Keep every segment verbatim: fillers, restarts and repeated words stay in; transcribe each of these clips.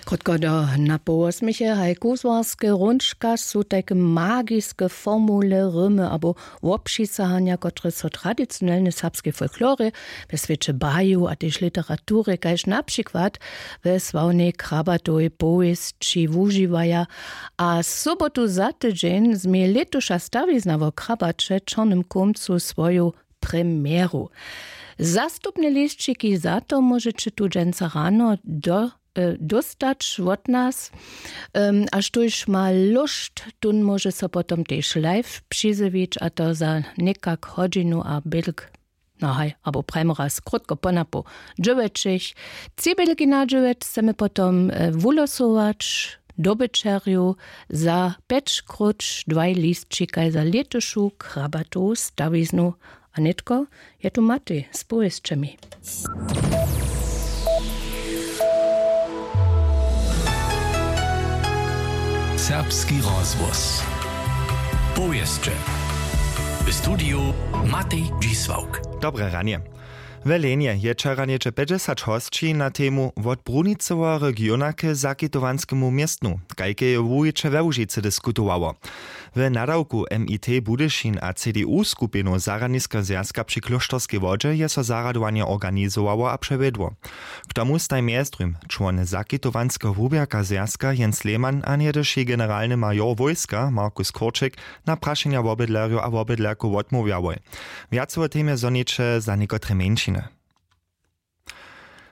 Krótko do na połosměche haj kuzłarske hrónčka su tajke magiske formule rymy abo wobpřisahanja, kotrež so w tradicionelnej serbskej folklorje, we swěće baju a tež literaturje kaž na přikład we sławnej Krabatowej powěsći wužiwaja. A sobotu za tydźeń změje lětuša stawizna wo Krabaće w Čornym Kómcu swoju premjeru. Zastupne lisćiki za to móžeće tu dźensa rano do dóstać wot nas. A štóž ma lóšt, tón móže so potom tež live přizjewić, a to za někak hodźinu a bělk, no haj, abo prajmy raz krótko ponapoł dźewjećich. Tři bělki na dźewjeć chcemy potom wulosować dobyćerju za pjećkróć dwaj lisćikaj za lětušu Krabatowu stawiznu. A nětko je tu Matej z powěsćemi. Serbski rozhłos. Powěsće. W studiju Matej Dźisławk. Dobre ranje. W Lenje je wčera něhdźe pjećdźesat hosći na temu wot bruniceho regiona k zakitowanskemu městnu, kajke je wuwiće we Łužicy diskutowało. W nadawku M I T Budyšin a C D U skupinu Zarjadniska zwjazka při Klóšterskej wodźe je so zarjadowanje organizowało a přewjedło. K tomu staj mjezdrujm čłon zakitowanskeho wuběrka zwjazka Jens Lehmann a něhdyši generalny major wójska Markus Korčik na prašenja wobydlerjow a wobydlerkow wotmołwjałoj. Wjace wo temje zhoniće za někotre mjeńšiny.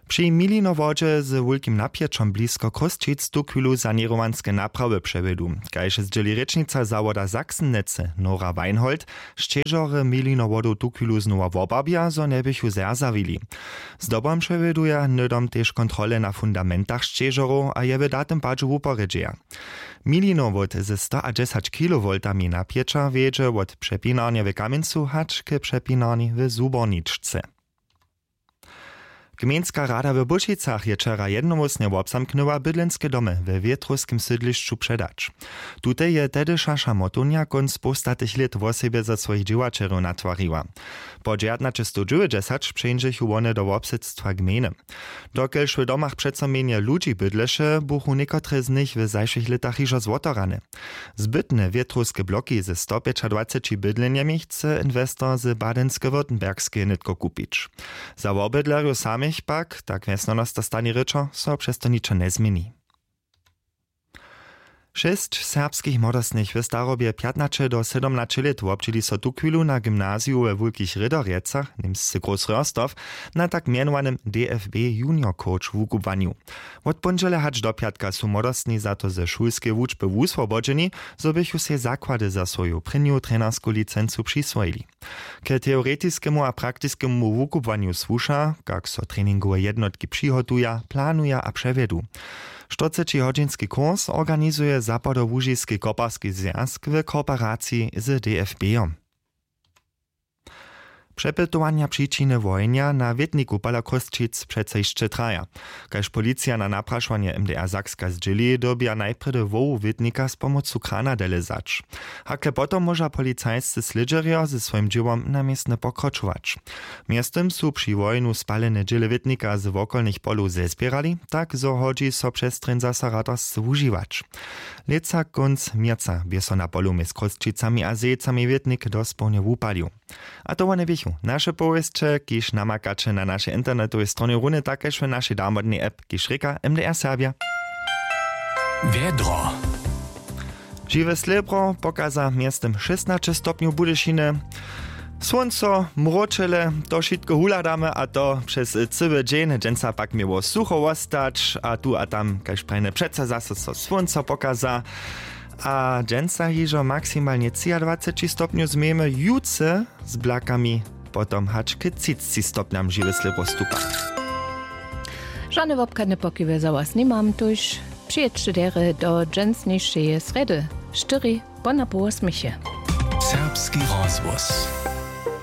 Při Milinowodźe z wulkim napjećom blisko Chrósćic tuchwilu saněrowanske naprawy přewjedu. Kaž zdźěli rěčnica zawoda Sachsen-Netze Nora Weinhold, sćežorje Milinowodow tuchwilu znowa wobarbja, zo njeběchu zerzawili. Zdobom přewjeduja hnydom tež kontrole na fundamentach sćežorow a je w datym padźu wuporjedźeja. Milinowod ze stoadźesać kilowoltami napjeća wjedźe wot přepinarnje w Kamjencu hač k přepinarni w Zuborničce. Gmejnska rada w Błyšicach je wčera jednohłósnje wobzamknyła bydlenske domy we wětrowskim sydlišću předać. Tute je tehdyša šamotownja kónc połstatych lět wosebje za swojich dźěłaćerjow natwariła. Po dźewjatnaćestowdźewjećdźesać přeńdźechu wone do wobsydstwa gmejny. Dokelž w domach přeco mjenje ludźi bydleše, buchu někotre z nich w zašłych lětach hižo zwotorane. Zbytne wětrowske bloki ze stopjećadwaceći bydlenjemi chce inwestor z badenske-württembergskeje nětko kupić. Za wobydlerjow samych pak, tak wjesnjanosta stanje rěčo, so přez to ničo njezměni. Šěsć serbskich młodostnych w starobje pjatnaće do sydomnaće lět wobdźěli so tuchwilu na gymnaziju we wulkich rěderjecach, němsce Großröhrsdorf, na tak mjenowanym D F B Junior Coach wukubłanju. Wot póndźele hač do pjatka su młodostni za to ze šulskeje wučby wuswobodźeni, zo běchu sej zakłady za swoju prěnju trenersku licencu přiswojili. K teoretiskemu a praktiskemu wukubłanju słuša, kak so treningowe jednotki přihotuja, planuja a přewjedu. Štyrcećihodźinski kurs organizuje zapadołužiski koparski zwjazk w kooperaciji z D F B-jom. Přepytowanja přičiny wohenja na wětniku pola Chrósćic přeco hišće traja. Kaž policija na naprašowanje M D R Sakska zdźěli, dyrbja najprjedy hłowu wětnika z pomocu krana dele zać. Hakle potom móža policajscy slědźerjo ze swojim dźěłom na městnje pokročować. Mjeztym su při wohenu spalene dźěle wětnika z wokolnych polow zezběrali, tak zo hodźi so přez trěn zaso radarsce wužiwać. Lětsa kónc měrca bě so na polu mjez Chrósćicami a Zejcami wětnik dospołnje wupalił. A to wone běchu naše powěsće, kiž namakaće na našej internetowej stronje runje tak kaž w našej damodnej app, kiž rěka M D R Serbja. Wjedro. Žiwe slěbro pokaza mjeztym šěstnaće stopnjow Budyšiny. Słónco, mróčele, to wšitko huhladamy, a to přez cyły dźeń. Dźensa pak měło sucho wostać a tu a tam, kaž prajne, přeco zaso so słónco pokaza. A dźensa hižo maksimalnje třiadwaceći stopnjow změjemy, jutře z blakami potom hač k třicci stopnjam žiwy slěbro stupa. Žane wobchadne pokiwy za was nimam, tuž přijědźće derje do dźensnišeje srjedy, štyri po na połosměche. Serbski rozhłos.